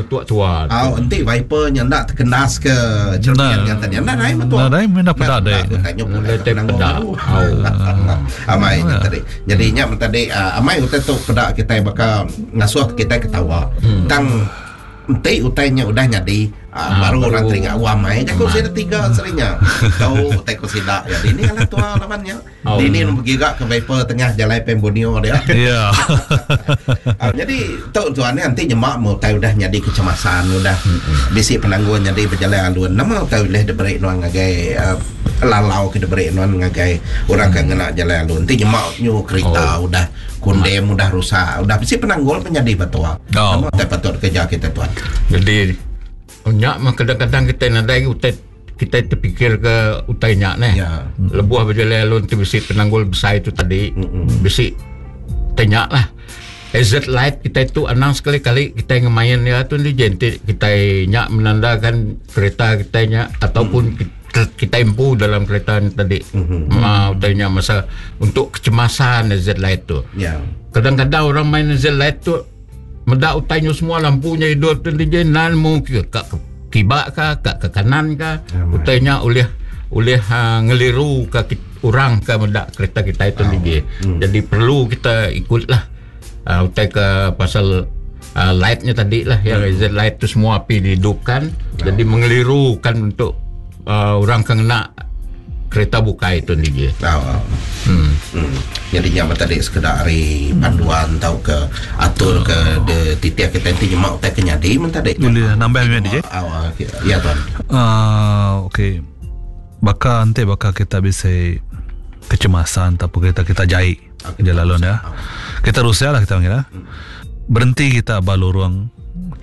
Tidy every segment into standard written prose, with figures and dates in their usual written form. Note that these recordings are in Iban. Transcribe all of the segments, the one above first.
ngetuk tua. Au enti Viper nya enda tekendas ke cermin nya tadi enda nai metua. Enda nai menda peda deh. Enda te peda. Au. Amai nya tadi. Jadi nya men tadi amai utai tu peda kitai baka ngasuh kitai ketawa. Tang Enti utai nya udah nyadi ha, baru orang teringat wah mai jaku sida tiga serinya. Tau utai ku sida ya dini alah tua laban nya. Oh. Dini nu begiga ke Viper tengah jalai Pan Borneo dia. Ya. Ha, jadi tu tuan ni enti nyema mu utai udah nyadi kecemasan udah bisi penanggul nyadi bejalai alun nama utai ulih diberi nuan ngagai uh, lalau ke diberi nuan ngagai orang ke ngena jalai alun enti nyema nyu kerita oh. udah Kundem udah rusak, udah bisi penanggul pun nyadi ba tua. Oh. Nama utai patut kerja kita tuan? Jadi nya mah kadang-kadang kita nadai utai kita terpikir ke utai nya neh. Ya. Lebuh berjalai alun ti bisi penanggul besai tu tadi, bisi utai nya lah. Hazard light kita tu anang sekali-kali kita ngemain ya tu ni jentik kita nya menandakan kereta kita nya ataupun mm. kita empu dalam kereta ni tadi. Mm-hmm. Ma utai nya masa untuk kecemasan hazard light tu. Ya. Kadang-kadang orang main hazard light tu meda utai nya semua lampunya hidup tu dia nan mu ke ka ke kiba ka ka ke kanan ka Ya, utai nya ulih ulih uh, ngeliru ke orang ke meda kereta kita itu oh. DJ. Hmm. Jadi perlu kita ikutlah uh, utai ke pasal uh, lightnya tadi lah yang hazard light tu semua api dihidupkan oh. jadi mengelirukan untuk uh, orang ke ngena kereta bukai tu DJ. Oh. Hmm. Hmm. Jadi nya tadi sekeda ari panduan tau ke atur ke de titik kita enti nyema utai ke nyadi men tadi. Boleh nambah meh DJ. Oh, ya tuan. Uh, okey. Baka enti baka kita bisi kecemasan ataupun kereta kita jai. Okay. Jalan alun ya. Kita rusak lah kita panggil lah. Berhenti kita ba lorong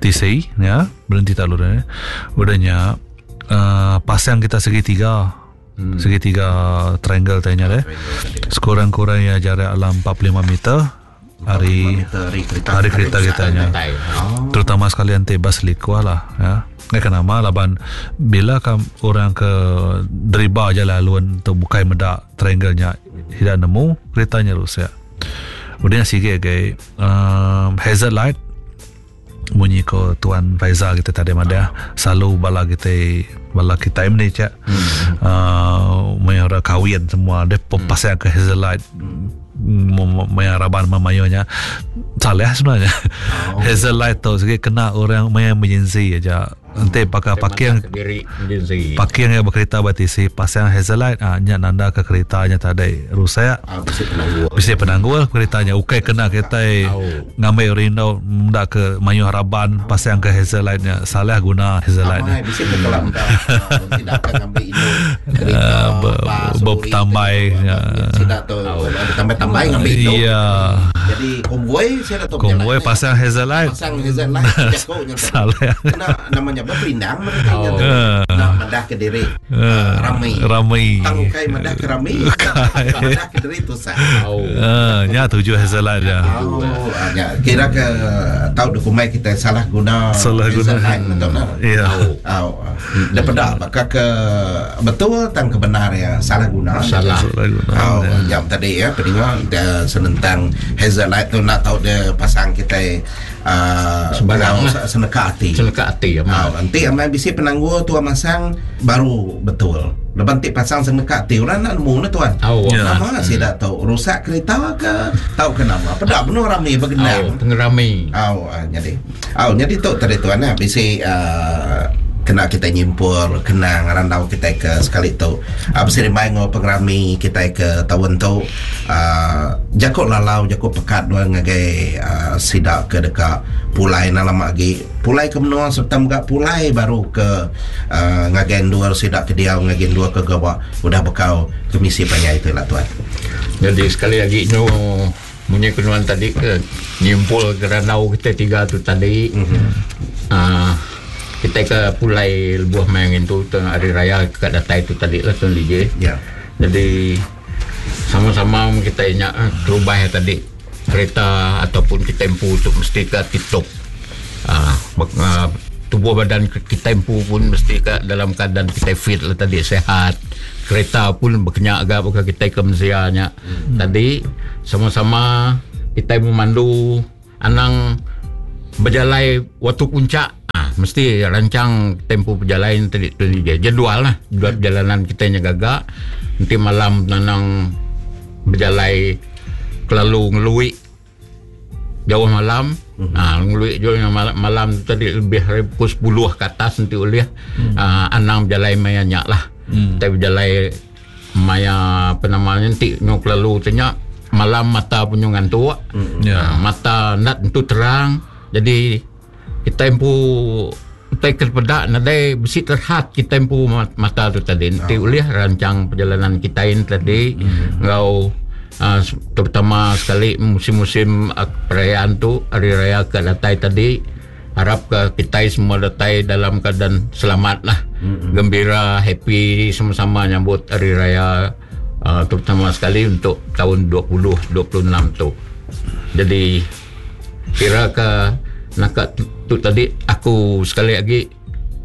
TC ya, berhenti tak lorong ya. Udahnya uh, pasang kita segitiga. Hmm. Segitiga triangle tanya deh. Sekurang-kurangnya jarak dalam 45 meter hari hari kereta kita nya. Terutama sekali enti bas likuah lah ya. Ngai nama laban bila kam orang ke deriba jalan alun tu bukai meda triangle nya sida nemu kereta nya rusak. Udah nya sigi agi um, hazard light munyi ko tuan Faizal kita tadi madah selalu bala kita bala kita ni cak hmm. uh, maya orang kahwin semua dia hmm. pasang ke hazard light maya raban memayo nya salah sebenarnya oh. hazard light tu sigi kena orang maya emergency aja Enti baka parking parking iya bekerita ba tisi pasang hazard light ah nya nanda ke kerita nya tadi rusak. Ah, bisi penanggul. Bisi penanggul kerita nya ukai kena kitai ngambi rindu meda ke mayuh raban pasang ke hazard light nya salah guna hazard light nya. Amai bisi ke kala meda sida ke ngambi indu kerita bas betambai nya. Sida tu betambai-tambai ngambi indu. Iya. Jadi konvoi sida tu Konvoi pasang hazard light. Pasang hazard light jaku nya. Salah. Kena nama nya beperindang mereka nya tu. Nak madah ke diri rami. Rami. Tang ukai madah ke rami. Madah ke diri tusah. Uh, nya tuju hazard light nya. Oh, nya kira ke tau dikumbai kita salah guna salah guna hazard light betul nah. Ya. Au. Enda peda baka ke betul tang ke benar ya salah guna. Salah. Salah guna. Au, jam tadi ya peninga senentang hazard light tu nak tau dia pasang kita Sebarang lah. Seneka ati. Seneka ati amat. Enti amai bisi penanggul tua masang baru betul. Laban enti pasang seneka ati orang enda nemu ne tuan. Oh, yeah. Nama hmm. sida tu rusak kereta ke tauka nama. Peda benung rami begendang. Oh, pengerami. Au nyadi. Au nyadi tu tadi tuan eh bisi uh, kena kita nyimpul kenang randau kita ke sekali tu uh, beserimbai enggau pengerami kita ke taun tu uh, jaku lalau jaku pekat dua ngagai uh, sida ke deka pulai enda lama agi pulai ke menua sereta mega pulai baru ke uh, ngagai endur sida ke diau ngagai endur ke gawa udah bekau kemisi panjai tu ila tuan. Jadi sekali agi nyu munyi ke nuan tadi ke nyimpul ke randau kita tiga tu tadi mm-hmm. uh, kita ke pulai lebuh main ngintu tu hari raya ke datai tu tadi lah tuan DJ. Ya. Jadi sama-sama kita nya terubah tadi kereta ataupun kita empu tu mesti ke tip-top. Uh, uh, tubuh badan kita empu pun mesti ke dalam keadaan kita fit lah tadi sehat. Kereta pun berkenyak agak bukan kita ke mensia nya. Hmm. Tadi sama-sama kita memandu anang berjalai waktu puncak. mesti rancang tempoh pejalai tadi tu jadual lah jadual perjalanan kita nya gaga enti malam nanang bejalai kelalu ngelui jauh malam mm-hmm. ha, ngelui jauh malam, malam tadi lebih dari pukul 10 ke atas enti ulih mm. ha, anang bejalai maya nya lah mm. tapi bejalai maya apa namanya enti nyu kelalu tu nya malam mata pun nyu ngantuk mm. yeah. ha, mata ndak tentu terang jadi kita empu utai ke peda nadai bisi terhad kita empu mata tu tadi enti oh. ulih rancang perjalanan kita ini tadi mm. enggau uh, terutama sekali musim-musim uh, perayaan tu hari raya ke datai tadi harap ke kita semua datai dalam keadaan selamat lah mm-hmm. gembira happy sama-sama nyambut hari raya uh, terutama sekali untuk tahun 2026 tu jadi Kira ke naka tu tadi aku sekali lagi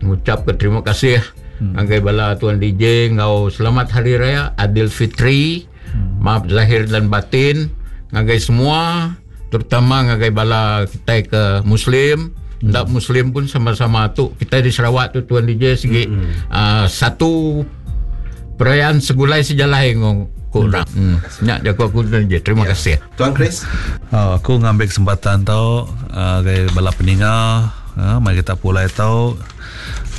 ngucap ke terima kasih hmm. ngagai bala tuan DJ enggau selamat hari raya Adil Fitri. Hmm. Maaf zahir dan batin ngagai semua terutama ngagai bala kita ke muslim hmm. Ndak muslim pun sama-sama tu kita di Sarawak tu tuan DJ segi hmm. uh, satu perayaan segulai sejalai ngong ku orang. Hmm. Nya jaku aku tuan DJ. Terima ya. kasih. Tuan Chris. Oh, aku ngambil kesempatan tu uh, bala peninga uh, mari kita pulai tu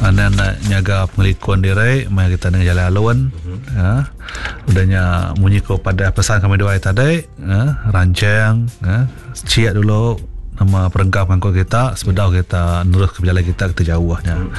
anda nak nyaga pengelikun diri mari kita dengan jalan alun uh-huh. uh, udahnya munyi ko pada pesan kami dua tadi uh, rancang uh, ciak dulu nama perengkap pangkut kita sebedau kita nerus ke berjalan kita kita jauhnya. Hmm.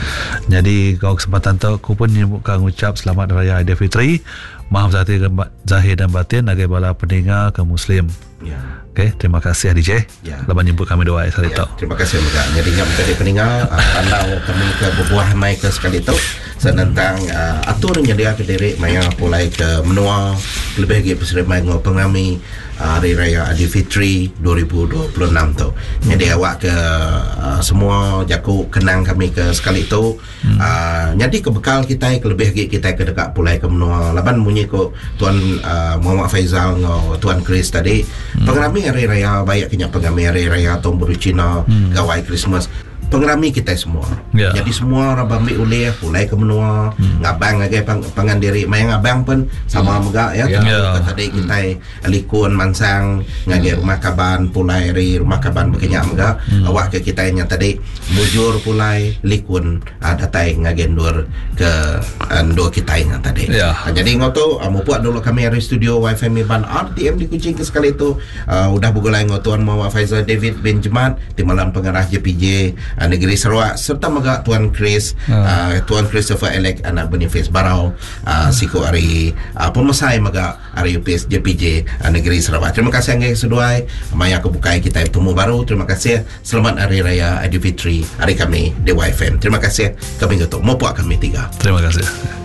Jadi kau kesempatan tu aku pun buka ngucap selamat raya Aidilfitri. Maaf zahir dan batin agai bala peninga ke muslim. Ya. Okey, terima kasih DJ. Ya. Laban jemput kami dua hari ya. Terima kasih juga. Jadi ngam tadi peninga pandau kami ke berbuah mai ke sekali tu senentang uh, atur nyedia ke diri maya pulai ke menua lebih lagi peserta ngau pengami Hari Raya Aidilfitri 2026 tu. Jadi awak ke uh, semua jaku kenang kami ke sekali tu hmm. uh, jadi ke bekal kita ke lebih lagi kita ke dekat pulai ke menua laban munyi ko tuan uh, Muhammad Faizal ngau tuan Chris tadi hmm. pengerami Hari Raya baik kenya pengerami Hari Raya Tahun Baru Cina hmm. gawai Christmas pengerami kita semua. Yeah. Jadi semua orang ambil ulih pulai ke menua, hmm. ngabang ngagai pang, pangan diri. Maya ngabang pun sama hmm. mega ya. Yeah. Yeah. Tadi kita hmm. likun mansang ngagai hmm. rumah kaban pulai ri rumah kaban bekenyak mega. Hmm. Awak ke kita nya tadi mujur pulai likun uh, datai ngagai ndur ke uh, ndur kita nya tadi. Yeah. Uh, jadi ngau tu uh, mupuak dulu kami dari studio YFM Iban RTM di Kuching ke sekali tu uh, udah begulai ngau tuan Muhammad Faizal David bin Jemat di malam pengarah JPJ Negeri Sarawak serta mega Tuan Chris uh, Tuan Christopher Alec anak Boniface Barau uh, siku hari uh, pemesai mega hari UPS JPJ uh, Negeri Sarawak. Terima kasih anggai seduai maya aku bukai kita bertemu baru. Terima kasih. Selamat Hari Raya Aidilfitri hari kami di YFM. Terima kasih. Kami tutup. Mopuak kami tiga. Terima kasih.